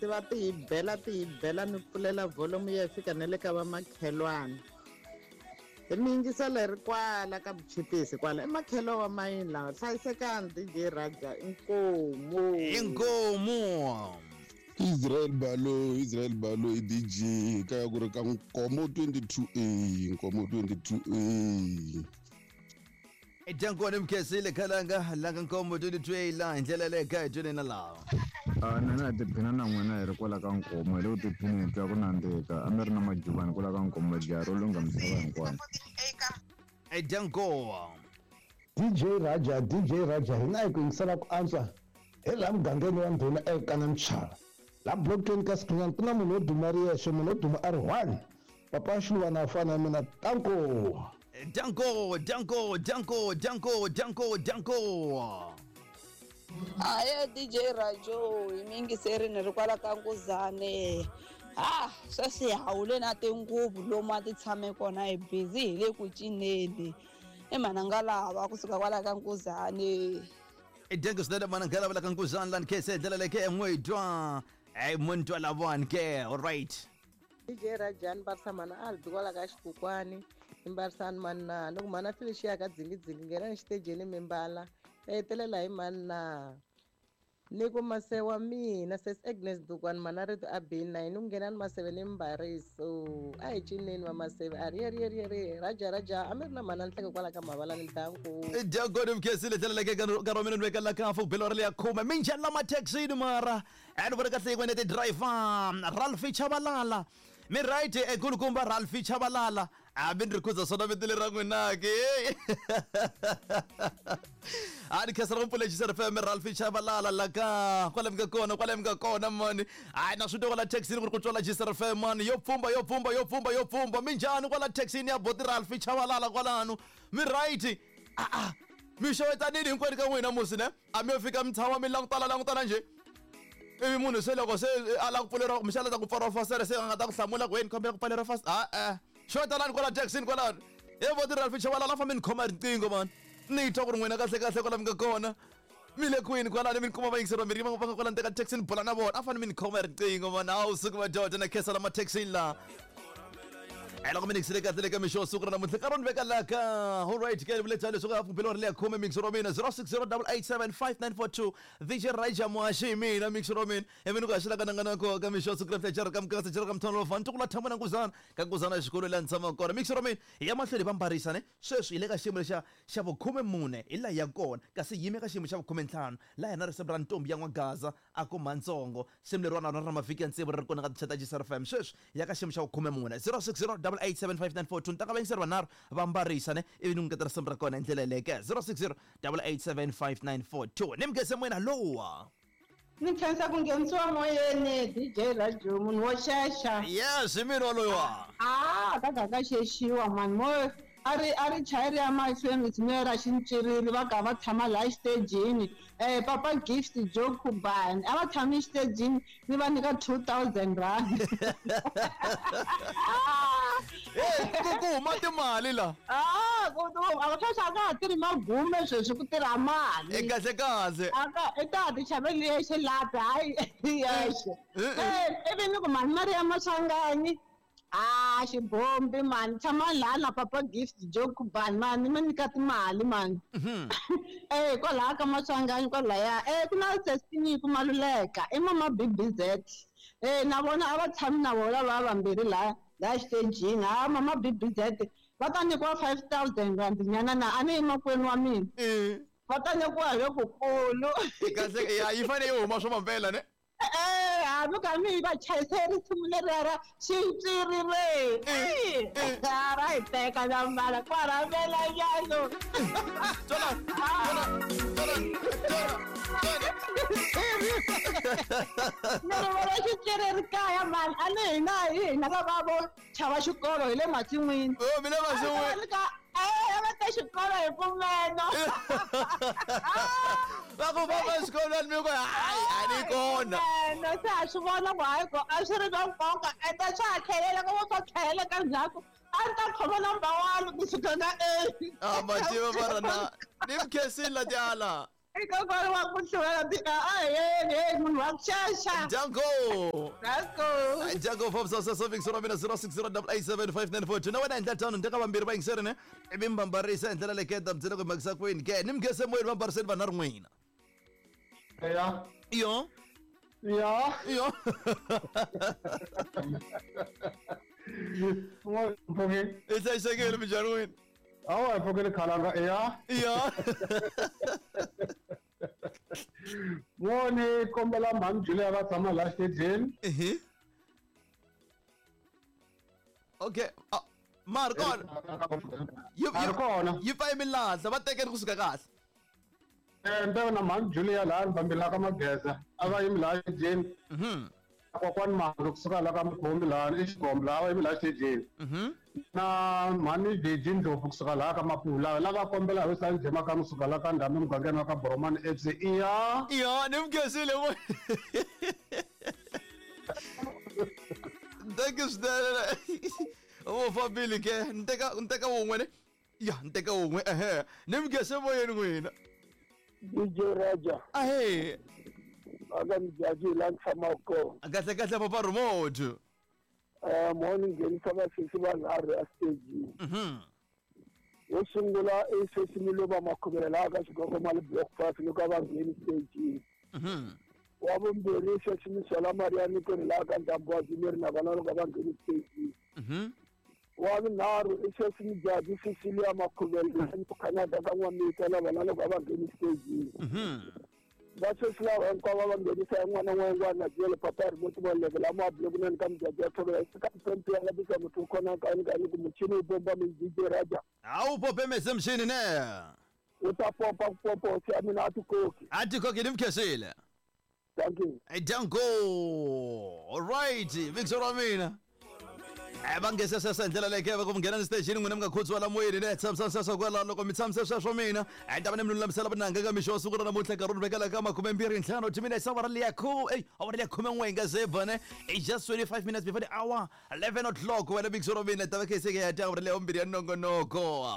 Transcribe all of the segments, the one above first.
ti va ti hi bela ti hi bela mi pfulela volume yi ya fika na le ka vamakhelwana hi mi yingisela hi ri kwala ka vuchipisi kwala i makhelo wa mayini lawa hlayisekani DJ Raja inkomu Inkomu. Israel Balo, Israel Balo i DJ kaya ku ri ka Nkomo 22A, Nkomo 22A. Jankone mkhesile khalanga langa Nkomo 22A la hi ndlela leyi kha hi twini na lawa. A mina hi tiphina na n'wina hi ri kwala ka Nkomo hi le ku tiphineni hi twa ku nandzika a mi ri na majubani kwala ka Nkomo jaha ro lungha misava hinkwayo. Janko. DJ Raja, DJ Raja, hina hi ku yingisela ku antswa hi laha mugangeni wa ndhuna ekana Mchala. Laha block-ini ka Sikhinyana ku na munhu wo duma ri yexe, munhu wo duma a ri one. Papa Xiluvana a fana na mina, tanko. Danko, danko, danko, danko, danko, danko. Aye DJ Rajo hi mi yingiseri ni ri kwala ka Nkuzane. Ha sweswi hi hawule na tinguvu lomu a ti tshame kona hi busy hi le ku cineni. I mhana lava kusuka kwala ka Nkuzane. Danko swinene mana nghala la ka Nkuzane lani khe se ndlela leyi ke n'we twa. Hey muntu lavani ke. All right. DJ Rajani mbarisa mhana Albi kwala ka xikukwani ni mbarisani mani na loko mhana Felicia ka dzingidzingi nghenani xitejeni mi mbala ta hetelela hi mani na ni ku mase wa mina sis Agnes Dukwani mhana rito a bini na yini ku nghenani maseve ni mbariso a hi cineni va maseve a ri ye ri ye ri ye ri Raja Raja a mi ri na mhana Nhleke kwala ka Mavalani ntanku. Danko ni mkhesile ndlela leyi ke nkarhi wa mina ni veka la ka hafu belo ra le ya khume minjhani lama taxini mara and vona kahle yin'wana ti driver Ralph Chabalala mi right ekulukumba Ralph Chabalala a mi ni ri khuza swona vito leri ra n'wina ke a ni khensela ku pfula FM Ralph Chabalala la ka kwale mi nga kona kwale mi nga kona mani hayi na swi twa kwala taxini ku ri ku twala Gisela FM mani yo pfumba yo pfumba yo pfumba yo pfumba minjhani kwala taxini ya boti Ralph Chabalala kwalano mi right a a mi xewetanini hinkwenu ka n'wina musi ne a mi yo fika mi tshama mi langutana langutana njhe ivi munhu se loko se a lava ku pfuleriwa kumbexana ta ku pfariwa fastere se a nga ta ku hlamula ku wena kombela ku pfaleriwa fast a e xewetanani kwala taxini kwalano he boti Ralph Chabalala a fambe ni khoma riqingho mani ni twa ku ri n'wina kahle kahle kwala mi nga kona mi le kwini kwalano mi ni kuma vayingiseri vambirhi va nga kwala ndzeni ka taxi ni bula na vona a fanele mi ni khoma riqingho mani a wu suki madoda na khensa lama taxini laha e loko mi nikisile kahle le ka mixo wa siku ra namuntlha nkarhi ni veka la ka alright ke vule tani leswaku hafu belo ri le ya khume mixo wa mina 0608875942 DJ Raja Muhaxi hi mina mixo wa mina ivi ni ku haxela ka nanga nako ka mixo wa siku ra namuntlha jara ka mukasa jara ka mthonlo fa ntukulu tshama na nkuzana ka nkuzana xikolo laha ni tshamaka kona mixo wa mina hi ya mahlweni hi va mbarisa ne sweswi hi le ka xiyimo lexa xa vukhume-mune hi laha ya kona kasi hi yime ka xiyimo xa vukhume-ntlhanu laha hina risimu ra ntombi ya n'wagaza a ku mhantsongo risimu leriwani na rona ra mavhiki ya tsevu ri ri kona ka tinxaka ta Gisela FM sweswi hi ya ka xiyimo xa vukhume-mune 0608875942 ni ta ka vayingiseri vanharhu va mbarisa ne ivi ni n'wi nyiketa risimu ra kona hi ndlela yeleyo ke 0608875942 ni mugeze moyeni hallowa Ni khensa ku nghenisiwa moyeni DJ Radio munhu wo xexa. Yes, hi mina waloyiwa. Ah, ka ka ka xexiwa mani mo a ri a ri chayeri ya mahlweni risimu ra xintswiriri va ka va tshama laha xitejini papa Gift Joe Khubani a va tshami xitejini ni va nyika 2000 rand. Hey, ku ku huma timali la. Ah, ku a sweswi a ka ha tirhi magume sweswi ku tirha mali. E kahle kahle. Aka i ta ti xaveli yexe lapi hayi yexe. Eh, ivi ni ku mani mari ya Maswanganyi ah xibombi mani tshama laha na papa Gift Joe Khubani mani mi nyika timali mani. Eh kwalaha ka Maswanganyi kwalaya eh ku na Sestinyiku Maluleka i mama BBZ. Eh na vona a va tshami na vona va vambirhi laha laha xitejini ha mama BBZ va ta nyikiwa 5000 rand nyana na a ni yi makwenu wa mina. Va ta nyikiwa hi lokukulu. Kahle ya yi fanele yi huma swo mampela ne. Eh hambi ka mi va chayise risimu leriya ra xintswirire. Ra hi teka na mbala kwaramela nyano. Tona tona tona tona. Ni ri vona xitswiriri kaya mani a ni hina hi hina lava vo chava xikolo hi le masin'wini. Oh mi le masin'wini. Eh va ta xikolo hi pfumelo. Va ku famba exikolweni mi ku hayi a ni kona. Na se a swi vona ku hayi ko a swi ri na nkoka ende swa ha tlhelela ka swa tlhelela ka ndzhaku a ni ta khoma number one kusuka ka A. Ah mativa mara na ni mi khensile la tiala. I kokwana wa ku hluvela a munhu wa ku xaxa. Danko. Danko. Danko Forbes sasaving sora mina 0608875942. Na wena endla tano ndeka vambirhi va yingiseri ne ivi mi vambarisa hi ndlela leketa mi ku mhakisa kwini ke ni mi gese moyeni vambariseni vanharhu n'wina. Ya. Iyo. Ya. Iyo. I hlayisekile minjhani n'wina? Awa hi pfukile khalanga ya. Ya. N'woni kombela mhani Julia va tshama laha xitejini. Ehe. Okay. Ma ri kona. Ma ri kona. Yi pfa milahla va tekeni kusuka kahle. Nteko na mhani Julia laha ni fambelaka ka Mageza a va yimi laha xitejini. Kokwani Mhangi kusuka laha ka Mkhumbi laha i Xigombe laha va yimi laha xitejini. Na mhani Jeji Ndlovu kusuka laha ka Mapula lava kombela hi Sanjay Makamu kusuka laha ka Ndhambi mugangeni wa ka Boromani FC iya. Iya, ni mi khensile vo. Thank you swinene. Vo fambile ke ni teka wun'we ne. Ya, ni teka wun'we ehe. Ni mi khense moyeni n'wina. DJ Raja. Ahe. Aka Mjaji la ni tshamaka kona. Kahle kahle papa remote. Mo ni nghenisa vasesi vanharhu exitejini. Wo sungula i sesi Miluva Makhuvela laha ka Xigogo Mali Block 5 loko a va ngheni stejini. Wa vumbirhi i sesi Misola Maria Nikoni laha ka Ndhambi wa Jimeri na vona loko va ngheni stejini. Wa vunharhu i sesi Mjaji Cecilia Makhuvela Canada ka N'wamita na vona loko va ngheni stejini. Va sesi lava hinkwavo va nghenisa hi n'wana n'wengwana na jele papa remote voleke lama bulekунani ka Mjaji ya Thobela ka mpempe ya labisa muthu u khona kani kani ku muchini wu bomba mi DJ Raja. A wu pope mese mchini ne. U ta popa ku popa hosi ya mina a ti koki. A ti koki ni mi khensile. Thank you. Danko. All right, Victor wa mina. Va nghese sweswo hi ndlela leyi ke va ku mi nghena ni stejini n'wina mi nga khudziwa la moyeni ne tshamisani sweswo kwalaho loko mi tshamise sweswo mina hi ta va ni mi lulamisela vunanga ka mixo wa siku ra namuntlha nkarhi wu ni vekela ka 25 timinetse awara liya awara liya 11 yi nga ze ba ne i just 25 minutes before the hour 11 o'clock wena Victor wa mina ta va khe se ke ya ta awara liya vumbirhi ya nongonoko.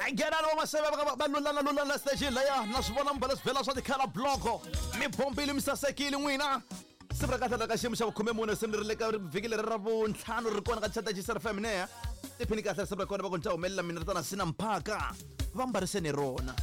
Nghenani va maseve va lulana lulana station laya na swi vona mi bala swibela swa tikhala bloko mi bombile mi sasekile n'wina. Siku ra kahle la ka xiyimo xa vukhume se mi ri le ka vhiki leri ra vuntlhanu ri kona ka chata Gisere FM ne tiphini kahle siku ra kona va ku ni ta humelela mina ri tana sina mphaka va mbariseni rona.